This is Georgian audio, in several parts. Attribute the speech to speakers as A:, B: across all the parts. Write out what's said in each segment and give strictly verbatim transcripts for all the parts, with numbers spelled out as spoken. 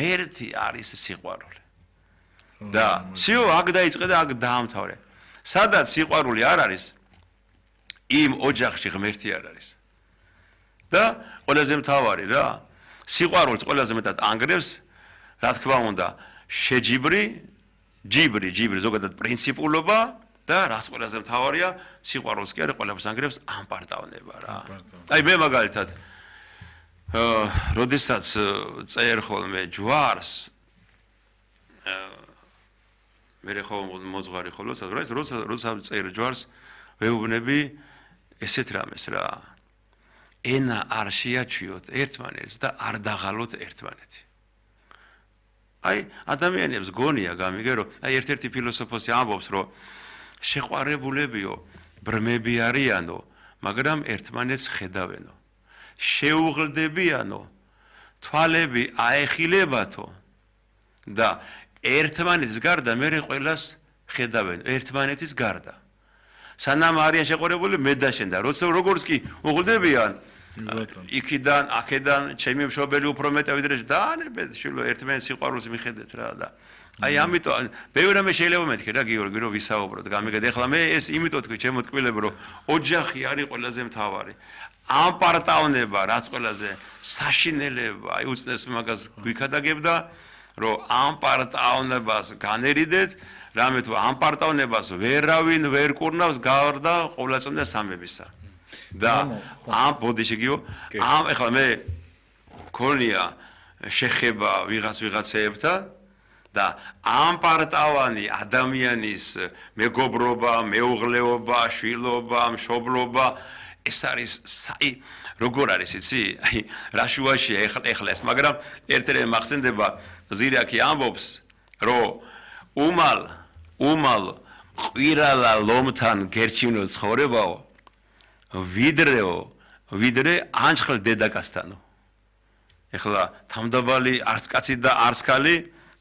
A: ღმერთი არის სიყვარული. და სიო აქ დაიწყე და აქ დაამთავრე. სადაც სიყვარული არ არის, იმ ოჯახში ღმერთი არ არის. და ყველაზე მთავარი რა, სიყვარულს ყველაზე მეტად ანგრევს, რა თქმა უნდა, შეჯიბრი, ჯიბრი, ჯიბრი ზოგადად პრინციპულობა და რაც ყველაზე მთავარია, სიყვარულს კი არა ყველაფერს ანგრევს ამპარტავნება რა. აი მე მაგალითად აა როდესაც წერ ხოლმე ჯვარს მე ხო მოძღვარი ხოლმე სადღაც როცა როცა წერ ჯვარს ვეუბნები ესეთ რამეს რა. ენა არ შეაჩვიოთ ერთმანეთს და არ დაღალოთ ერთმანეთი. აი ადამიანებს გონია გამიგე რომ აი ერთ-ერთი ფილოსოფოსი ამბობს რომ შეყვარებულებიო ბრმები არიანო მაგრამ ერთმანეთს ხედავენო შეუღლდებიანო თვალები აეხილებათო და ერთმანეთის გარდა მე ყველას ხედავენო ერთმანეთის გარდა სანამ არიან შეყვარებული მე და შენ და როცა როგორც კი უღლდებიან იქიდან აქედან ჩემი მშობელი უფრო მეტად ვიდრე დაანებეთ შვილო ერთმანეთის სიყვარულს მიხედეთ რა და აი ამიტომ ბევრი რამე შეიძლება მეთქე რა გიორგი რომ ვისაუბროთ გამიგეთ ეხლა მე ეს იმიტომ თქვი ჩემო ტკბილები რომ ოჯახი არის ყველაზე მთავარი ამ პარტავნება რაც ყველაზე საშინელება აი უწნეს მაგას გვიქადაგებდა რომ ამ პარტავნებას განერიდეთ რამე თუ ამ პარტავნებას ვერავინ ვერ კურნავს გარდა ყოვლადწმიდა სამებისა და ამ ბოდიშიგიო ამ ეხლა მე მქონია შეხება ვიღაც ვიღაცეებთან და ამ პარტავანი ადამიანის მეგობრობა, მეუღლეობა, შვილობა, მშობლობა ეს არის საი როგორ არის იცი? აი რა შუაშია ეხლა ეხლა ეს, მაგრამ ერთ-ერთი მახსენდება ზირაკი ამბობს, რომ უმალ უმალ ყირალა ლომთან გერჩინო ცხოვრებაო, ვიდრეო, ვიდრე ანჩხელ დედაკაცთანო. ეხლა თამდაბალი არც კაცი და არც ქალი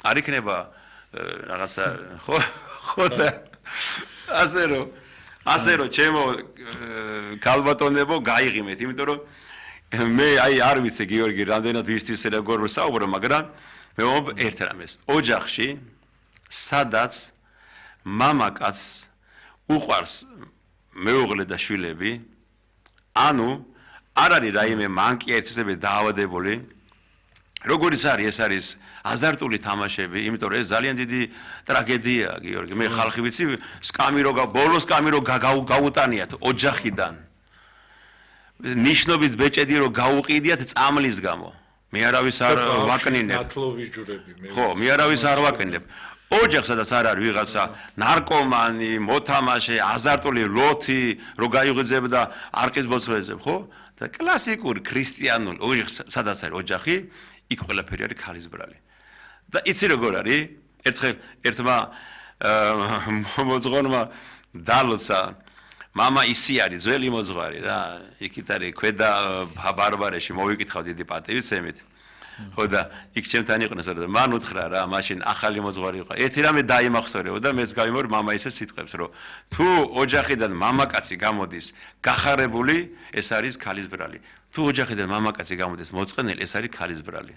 A: არ იქნება რაღაცა ხო ხო და ასე რომ ასე რომ ჩემო ქალბატონებო გაიღიმეთ იმიტომ რომ მე აი არ ვიცი გიორგი რამდენად ვისთვის როგორ ვსაუბრო მაგრამ მე ვამბობ ერთ რამეს ოჯახში სადაც მამაკაც უყვარს მეუღლე და შვილები ანუ არ არის რაიმე მანკი ერთსები დაავადებული როგორიც არის ეს არის აზარტული თამაშები, იმიტომ რომ ეს ძალიან დიდი ტრაგედიაა, გიორგი. მე ხალხი ვიცი, სკამი რო ბოლოს სკამი რო გაუტანიათ ოჯახიდან. ნიშნობის ბეჭედი რო გაუყიდიათ წამლის გამო. მე არავის არ ვაკნინებ.
B: ნათლობის ჯვრები მე.
A: ხო, მე არავის არ ვაკნინებ. ოჯახ სადაც არ არის ვიღაცა ნარკომანი, მოთამაშე, აზარტული ლოთი, რო გაიღვიძებდა არყის ბოძველებზე, ხო? და კლასიკური ქრისტიანული ოჯახი სადაც არის ოჯახი, იქ ყველაფერი არის ქალის ბრალი. და იცი როგორ არის? ერთხელ ერთმა მოძღვარმა დალოცა მამა ისი არის ძველი მოძღვარი რა. იქით არის ქვედა ბარბარეში მოვიკითხავ დიდი პატივისცემით. ხო და იქ ჩემთან იყვნენ და მან უთხრა რა მაშინ ახალი მოძღვარი იყო. ერთი რამე დაიმახსოვრებო და მეც გავიმორ მამა ისე სიტყვებს რომ თუ ოჯახიდან მამაკაცი გამოდის გახარებული ეს არის ქალის ბრალი. თუ ოჯახიდან მამაკაცი გამოდის მოწყენელი ეს არის ქალის ბრალი.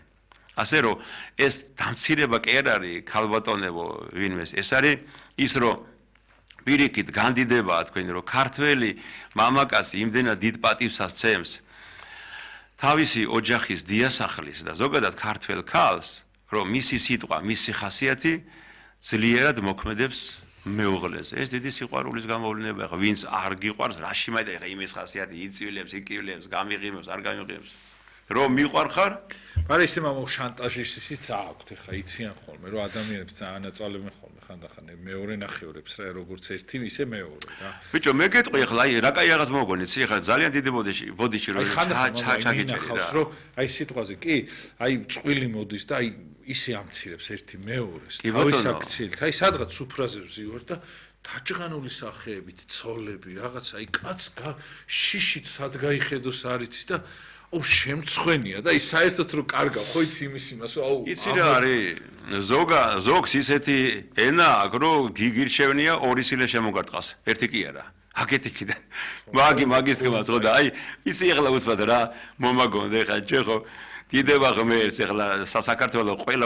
A: ასე რომ ეს დამცირება კი არ არის ქალბატონებო ვინმეს ეს არის ის რომ პირიქით განდიდებაა თქვენი რომ ქართველი მამაკაცი იმდენად დიდ პატივს ასცემს თავისი ოჯახის დიასახლის და ზოგადად ქართველ ქალს რომ მისი სიტყვა მისი ხასიათი ძლიერად მოქმედებს მეუღლეზე ეს დიდი სიყვარულის გამოვლენაა ხო ვინც არ გიყვარს რაში მაიტა ხა იმის ხასიათი იწვილებს იკივლებს გამიღიმებს არ გამიღიმებს რომ მიყვარხარ
B: მაგრამ ისე მამო შანტაჟის ისიც აქვთ ხა იციან ხოლმე რომ ადამიანებს ძალიან აწვალებენ ხოლმე ხანდახან მეორე ნახევრებს რა როგორც ერთი ისე მეორე რა
A: ბიჭო მე გეტყვი ხა აი რა კაი რაღაც მოგონი ცი ხა ძალიან დიდი ბოდიში ბოდიში რომ
B: ჩაგიჭერი რა რომ აი სიტყვაზე კი აი წვილი მოდის და აი ისე ამცირებს ერთი მეორეს თავის აქციით აი სადღაც სუფრაზებს ივარ და დაჭღანული სახეებით ცოლები რაღაც აი კაც შიშით სად გაიხედოს არიცი და ო შემწხვენია და ის საერთოდ რო კარგა ხო იცი იმის იმას აუ
A: იცი რა არის ზოგა ზოგს ისეთი ენა აქვს რომ გიგირჩევნია ორი სილე შემოგარტყას ერთი კი არა აკეთიქიდან მაგი მაგის თქმას ხო და აი იცი ეხლა უცბად რა მომაგონდა ეხლა ჩვენ ხო დიდება ღმერთს ეხლა საქართველოს ყველა